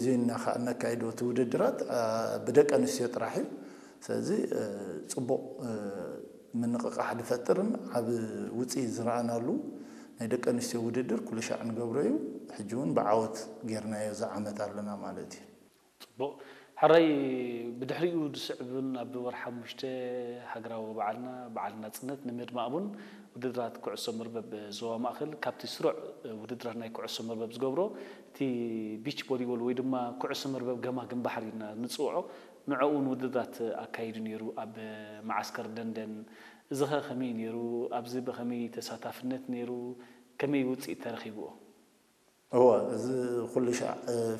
እዚ እና ከዓ እነካይዶ እቲ ውድድራት ብደቂ ኣንስትዮ ጥራሕ እዩ። ስለዚ ፅቡቕ ምንቕቓሕ ዝፈጥርን ዓብ ውፅኢት ዝረኣናሉ ናይ ደቂ ኣንስትዮ ውድድር ኩሉ ሻዕ ንገብሮ እዩ። ሕጂ እውን ብዓወት ጌርናዮ ዝዓመት ኣለና ማለት እዩ። ፅቡቕ። ሕራይ ብድሕሪኡ ዝስዕብን ኣብ ወርሒ ሓሙሽተ ሃገራዊ በዓልና በዓል ናፅነት ንምድማቕ እውን ውድድራት ኩዕሶ መርበብ ዞባ ማእኸል ካብቲ ስሩዕ ውድድራት ናይ ኩዕሶ መርበብ ዝገብሮ እቲ ቢች ቮሊቦል ወይ ድማ ኩዕሶ መርበብ ገማግም ባሕሪ ኢና ንፅውዖ ንዕኡ እውን ውድድራት ኣካይዱ ነይሩ ኣብ መዓስከር ደንደን። እዚኸ ከመይ ነይሩ? ኣብዚ ብኸመይ ተሳታፍነት ነይሩ? ከመይ ውፅኢት ተረኺብዎ? እወ እዚ ኩሉ ሻዕ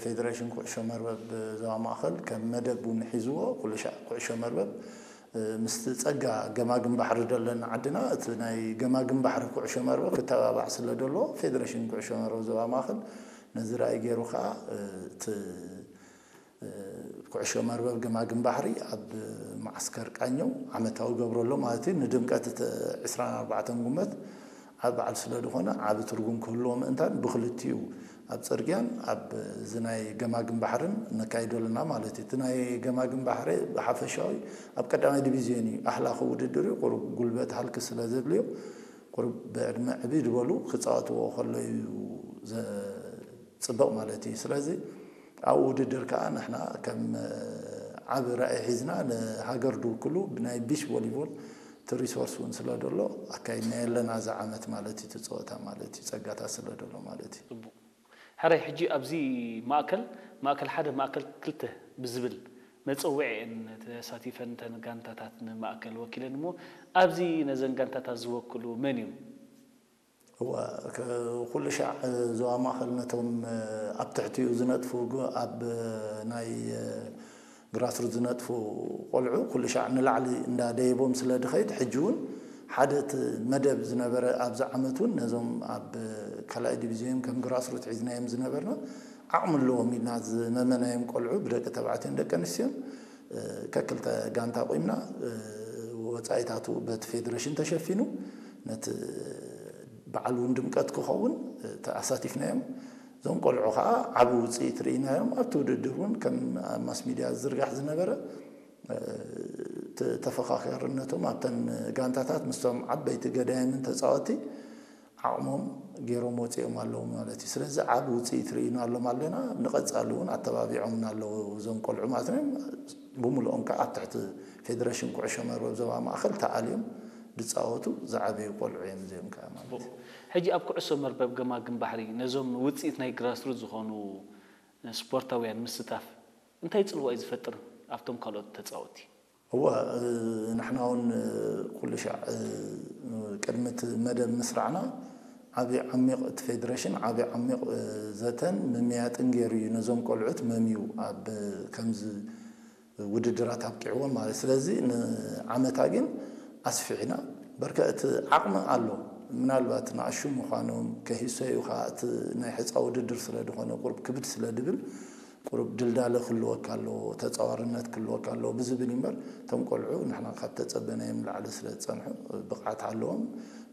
ፌደሬሽን ኩዕሾ መርበብ ዞባ ማእኸል ከም መደብ እውን ሒዝዎ ኩሉ ሻዕ ኩዕሾ መርበብ ምስቲ ፀጋ ገማግም ባሕሪ ደለና ዓድና እቲ ናይ ገማግም ባሕሪ ኩዕሾ መርበብ ክተባባዕ ስለ ደሎ ፌደሬሽን ኩዕሾ መርበብ ዞባ ማእኸል ነዚ ራእይ ገይሩ ከዓ እቲ ኩዕሾ መርበብ ገማግም ባሕሪ ኣብ ማዓስከር ቃኘው ዓመታዊ ገብረሎ ማለት እዩ። ንድምቀት እቲ ዕስራን ኣርባዕተን ጉመት ዓብ በዓል ስለ ዝኾነ ዓብ ትርጉም ክህልዎ ምእንታን ብክልቲኡ ኣብ ፅርግያን ኣብ እዚ ናይ ገማግም ባሕርን ነካይዶ ኣለና ማለት እዩ። እቲ ናይ ገማግም ባሕሪ ብሓፈሻዊ ኣብ ቀዳማይ ዲቪዝዮን እዩ ኣህላኺ ውድድር እዩ። ቁሩብ ጉልበት ሃልኪ ስለ ዘድልዮ ቁሩብ ብዕድመ ዕብይ ዝበሉ ክፃወትዎ ከሎ እዩ ዘፅብቕ ማለት እዩ። ስለዚ ኣብኡ ውድድር ከዓ ንሕና ከም ዓብ ራእይ ሒዝና ንሃገር ድውክሉ ብናይ ቢች ቮሊቦል እቲ ሪሶርስ እውን ስለ ደሎ ኣካይድናዮ ኣለና እዚ ዓመት ማለት እዩ። እቲ ፀወታ ማለት እዩ ፀጋታት ስለ ደሎ ማለት እዩ። ሕራይ ሕጂ ኣብዚ ማእከል ማእከል ሓደ ማእከል ክልተ ብዝብል መፀውዒ እየን ተሳቲፈን እተን ጋንታታት ንማእከል ወኪለን እሞ ኣብዚ ነዘን ጋንታታት ዝወክሉ መን እዮም? እወ ኩሉ ሻዕ ዞባ ማእኸል ነቶም ኣብ ትሕቲኡ ዝነጥፉ ኣብ ናይ ግራስሩት ዝነጥፉ ቆልዑ ኩሉ ሻዕ ንላዕሊ እንዳደየቦም ስለ ድኸይድ ሕጂ እውን ሓደ እቲ መደብ ዝነበረ ኣብዚ ዓመት እውን ነዞም ኣብ ካልኣይ ዲቪዝዮን ከም ግራስሩት ሒዝናዮም ዝነበርና ዓቕሚ ኣለዎም ኢልና ዝመመናዮም ቆልዑ ብደቂ ተባዕትዮን ደቂ ኣንስትዮን ከክልተ ጋንታ ቆይምና ወፃኢታቱ በቲ ፌደሬሽን ተሸፊኑ ነቲ በዓል እውን ድምቀት ክኸውን ኣሳቲፍናዮም። እዞም ቆልዑ ከዓ ዓብ ውፅኢት ርኢናዮም። ኣብቲ ውድድር እውን ከም ኣብ ማስ ሚድያ ዝዝርጋሕ ዝነበረ ተፈኻኻርነቶም ኣብተን ጋንታታት ምስቶም ዓበይቲ ገዳይምን ተፃወቲ ዓቕሞም ገይሮም ወፂኦም ኣለዉ ማለት እዩ። ስለዚ ዓብ ውፅኢት ርኢናሎም ኣለና። ንቐፃሊ እውን ኣተባቢዖምና ኣለዉ እዞም ቆልዑ ማለት እዮም። ብምልኦም ከዓ ኣብ ትሕቲ ፌደሬሽን ኩዕሾ መርበብ ዞባ ማእኸል ተኣልዮም ዝፃወቱ ዝዓበዩ ቆልዑ እዮም እዚኦም ከዓ ማለት እዩ። ሕጂ ኣብ ኩዕሶ መርበብ ገማግም ባሕሪ ነዞም ውፅኢት ናይ ግራስሩት ዝኾኑ ስፖርታውያን ምስታፍ እንታይ ፅልዋ እዩ ዝፈጥር ኣብቶም ካልኦት ተፃወቲ? እወ ንሕና እውን ኩሉ ሻዕ ቅድሚ እቲ መደብ ምስራዕና ዓብዪ ዓሚቕ እቲ ፌደሬሽን ዓብዪ ዓሚቕ ዘተን ምምያጥን ገይሩ እዩ ነዞም ቆልዑት መምዩ ኣብ ከምዚ ውድድራት ኣብቂዕዎም ማለት ስለዚ ንዓመታ ግን ኣስፊሕና በርከ እቲ ዓቕሚ ኣሎ ምናልባት ንኣሹ ምዃኖም ከሂሰዩ ከዓ እቲ ናይ ሕፃ ውድድር ስለ ዝኾነ ቁርብ ክብድ ስለ ድብል ቁሩብ ድልዳለ ክህልወካ ኣለዎ፣ ተፃዋርነት ክህልወካ ኣለዎ ብዝብል እዩ እምበር እቶም ቆልዑ ንሕና ካብ ተፀበናዮም ንላዕሊ ስለ ዝፀንሑ ብቕዓት ኣለዎም።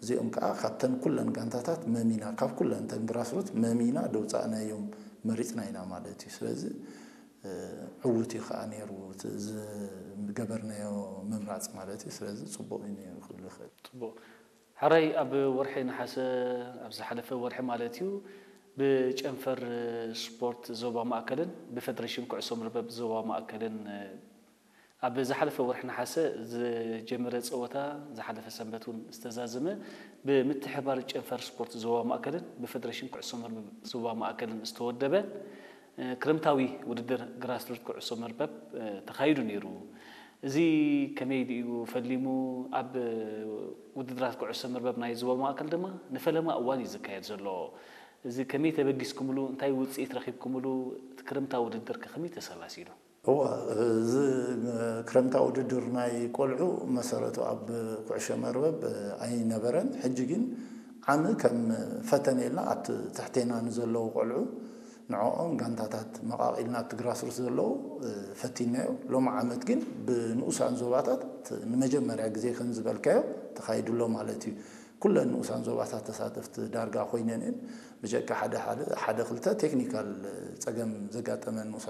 እዚኦም ከዓ ካብተን ኩለን ጋንታታት መሚና ካብ ኩለን ተን ግራስሩት መሚና ደውፃእናዮም መሪፅና ኢና ማለት እዩ። ስለዚ ዕዉት እዩ ከዓ ነይሩ እቲ ዝገበርናዮ ምምራፅ ማለት እዩ። ስለዚ ፅቡቕ እዩ ነይሩ ክብል ይኽእል። ፅቡቕ። ሕራይ ኣብ ወርሒ ነሓሰ ኣብ ዝሓለፈ ወርሒ ማለት እዩ ብጨንፈር ስፖርት ዞባ ማእከልን ብፈደሬሽን ኩዕሶ መርበብ ዞባ ማእከልን ኣብ ዝሓለፈ ወርሒ ነሓሰ ዝጀመረ ፀወታ ዝሓለፈ ሰንበት እውን ዝተዛዘመ ብምትሕባር ጨንፈር ስፖርት ዞባ ማእከልን ብፈደሬሽን ኩዕሶ መርበብ ዞባ ማእከልን ዝተወደበ ክረምታዊ ውድድር ግራስሩት ኩዕሶ መርበብ ተኻይዱ ነይሩ። እዚ ከመይ ድዩ ፈሊሙ? ኣብ ውድድራት ኩዕሶ መርበብ ናይ ዞባ ማእከል ድማ ንፈለማ እዋን እዩ ዝካየድ ዘሎ። እዚ ከመይ ተበጊስኩምሉ? እንታይ ውፅኢት ረኺብኩምሉ? እቲ ክረምታዊ ውድድር ከ ከመይ ተሰላሲሉ? እወ እዚ ክረምታዊ ውድድር ናይ ቆልዑ መሰረቱ ኣብ ኩዕሾ መርበብ ኣይነበረን። ሕጂ ግን ዓሚ ከም ፈተነ ኢልና ኣብቲ ትሕቴና ንዘለዉ ቆልዑ ንዕኦም ጋንታታት መቓቒልና ኣብቲ ግራስሩት ዘለዉ ፈቲናዮ። ሎሚ ዓመት ግን ብንኡሳን ዞባታት ንመጀመርያ ግዜ ከም ዝበልካዮ ተኻይዱ ኣሎ ማለት እዩ። ኩለን ንኡሳን ዞባታት ተሳተፍቲ ዳርጋ ኮይነን እየን። ብጀካ ሓደ ሓደ ሓደ ክልተ ቴክኒካል ጸገም ዘጋጠመን ንኡስ